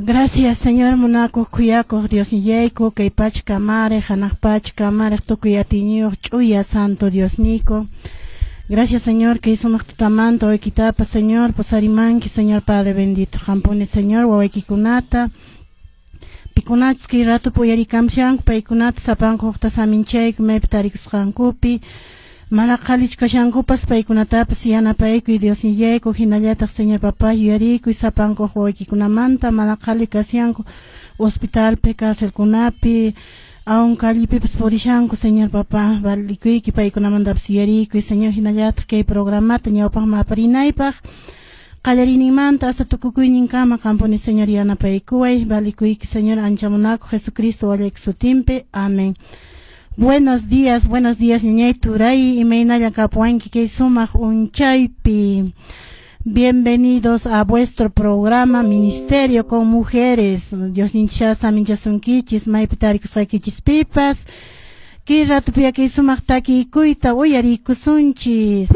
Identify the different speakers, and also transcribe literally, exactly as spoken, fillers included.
Speaker 1: Gracias, Señor, munakuq khuyakuq Diosnillayku, kay pacha kamariq, hanaq pacha kamariq, tukuy atiyniyuq ch'uya santo Diosniyku. Gracias, Señor, kay sumaq tutamanta wawaykitapas, Señor, pusarimanki, Señor Padre bendito. Qampuni, Señor, wawaykikunata, pikunachus kay ratupi uyarikamshanku, paykunata sapankuqta saminchayku maypi tarikusqankupi, mana qhalichu kashankupas paykunatapas yanapaykuy Diosnillayku, hinallataq Señor Papá yuyarikuy sapankuq wawaykikunamanta mana qhali kashanku hospitalpi, carcelkunapi, aun callepipas purishanku, Señor Papá, valikuyki paykunamantapas yuyarikuy, Señor, hinallataq kay programata ñawpaqman aparinaypaq qallariyninmanta hasta tukukuyninkama qampuni, Señor, yanapaykuway, valikuyki, Señor, ancha munakuq Jesucristo wallayki sutinpi, amén. Buenos días, buenos días, ñañay turay, imaynalla kapuwanki kay sumaq unchaypi. Bienvenidos a vuestro programa Ministerio con Mujeres. Diosninchik saminchasunkichis, maypi tarikusqaykichispipas. Kay ratupi kay sumaq takiykuyta uyarikusunchis.